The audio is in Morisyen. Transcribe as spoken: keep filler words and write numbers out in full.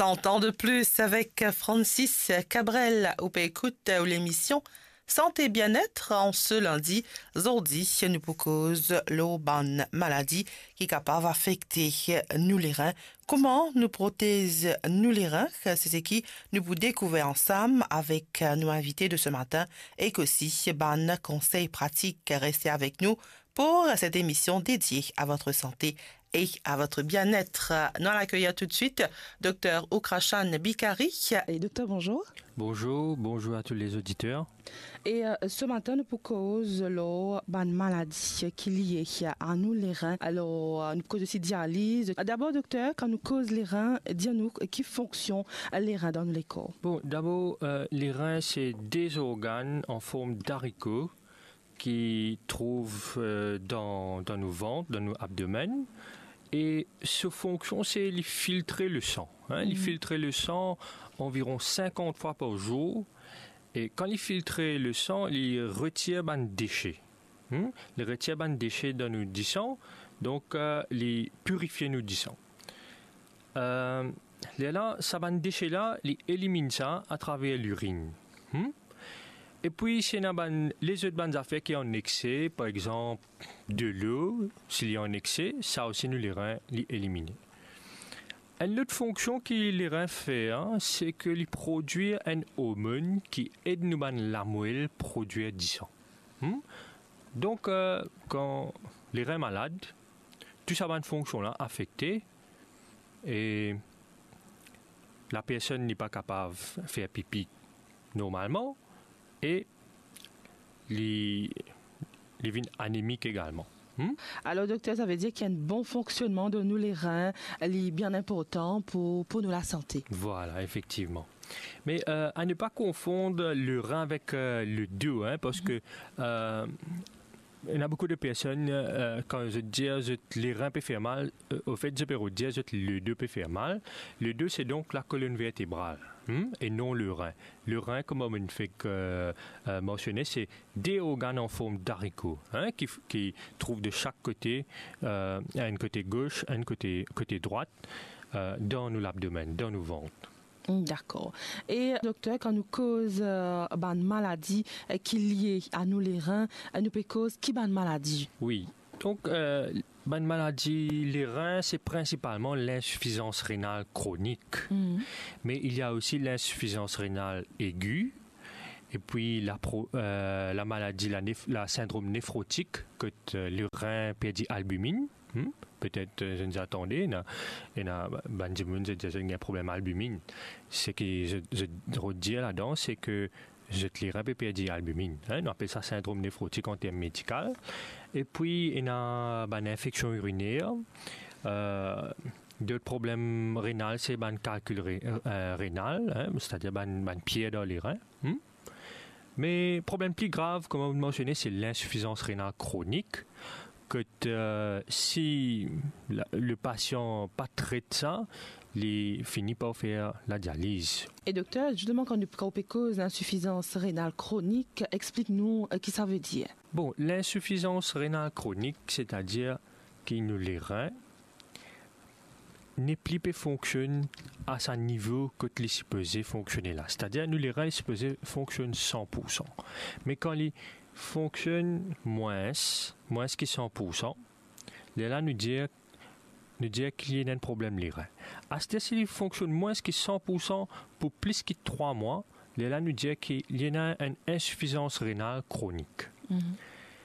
Cent ans de plus avec Francis Cabrel. Ou pe ekout lemision Santé Bien-être an se lindi. Zordi nou pou koz lor bann maladi ki kapav afekte nou lerin. Kouma nou protez nou lerin? Se seki nou pou dekouver ansam avek nou invite de ce matin, ek osi bann konsey pratik. Reste avek nou pour cette émission dédiée à votre santé et à votre bien-être. Nous allons accueillir tout de suite Dr Ukrashan Bikari. Et docteur, bonjour. Bonjour, bonjour à tous les auditeurs. E, euh, ce matin nou pou koz lor bann maladi ki lie a nou lerin. Alor, euh, nou pou koz osi dializ. Dabor, dokter, kan nou koz lerin, dir nou ki fonksion lerin dan nou lekor? Bon, dabor, euh, lerin se de zorgann an form dariko ki trouv, euh, dan, dan nou vant, dan nou abdomenn. E so fonksion se li filtre le san, hein. Li filtre le san anviron sinkant fwa par zour. E kan li filtre le san, li retir bann dese. Hmm? Li retir bann dese dan nou disan, donk, euh, li pirifie nou disan. Euh, lerla, sa bann dese la, li eliminn sa atraver lirinn. Hmm? Epi, si ena bann, lezot bann zafer ki an ekse, par exanp, delo, si li an ekse, sa osi nou lerin, li elimine. Enn lot fonksion ki lerin fer, se ke li prodwir enn ormonn ki ed nou bann lamwel prodwir disan. Hmm? Donk, euh, kan lerin malad, tou sa bann fonksion la afekte, e lapersonn li pa kapav fer pipi normalman, e li, li vinn anemik egalman. Hmm? Alor, dokter, sa ve dir ki enn bon fonksionnman de nou lerin, li bien inportan pou, pou nou lasante. Vwala, efektivman. Me, euh, a ne pa konfonn lerin avek, euh, ledo, hein, parski, euh, ena boukou de personn, euh, kan zot dir zot lerin pe fer mal, euh, ofet, zot pe rod dir zot ledo pe fer mal. Ledo, se donk la kolonn vertebral, hmm, e non lerin. Lerin, kouma mo'nn fek, euh, euh, mansione, se de organn an form dariko, hein, ki, ki trouv de sak kote, euh, enn kote gos, enn kote, kote drwat, euh, dan nou labdomenn, dan nou vant. Hmm, dakor. E dokter, kan nou koz, euh, bann maladi, euh, ki lie a nou lerin, euh, nou pe koz ki bann maladi? Wi. Donk, euh, bann maladi lerin, se prinsipalman linsifizans renal kronik. Hmm. Me il y a aussi l'insuffisance rénale aiguë, epi la pro-, euh, la maladi, la nef-, la sindrom nefrotik, kot, euh, lerin perdi albiminn. Hmm? Petet, euh, zot inn tande, ena, ena bann dimoun, zot dir zot ena problem albiminn. Seki zot, zot rod dir ladan, se ke zot lerin pe perdi albiminn, hein, nou apel sa sindrom nefrotik an term medikal. Epi, ena bann infeksion iriner, euh, dot problem renal, se bann kalkil re-, euh, renal, hein, setadir bann, bann pier dan lerin. Hmm? Me problem pli grav, kouma ou mansione, se linsifizans renal kronik, kot, euh, si la, le pasian pa tret sa, li fini par fer ladializ. E dokter, zisteman, kan nou, kan ou pe koz linsifizans renal kronik, explik nou, euh, ki sa ve dir. Bon, linsifizans renal kronik, setadir ki nou lerin nepli pe fonksionn a sa nivo kot li sipoze fonksionn la. Setadir, nou lerin li sipoze fonksionn san pou san. Me kan li fonksionn mwins, mwins ki san pou san, lerla nou dir, nou dir ki li ena enn problem lerin. Aster, si li fonksionn mwins ki san pou san pou plis ki trwa mwa, lerla nou dir ki li ena enn insifizans renal kronik. Mhm.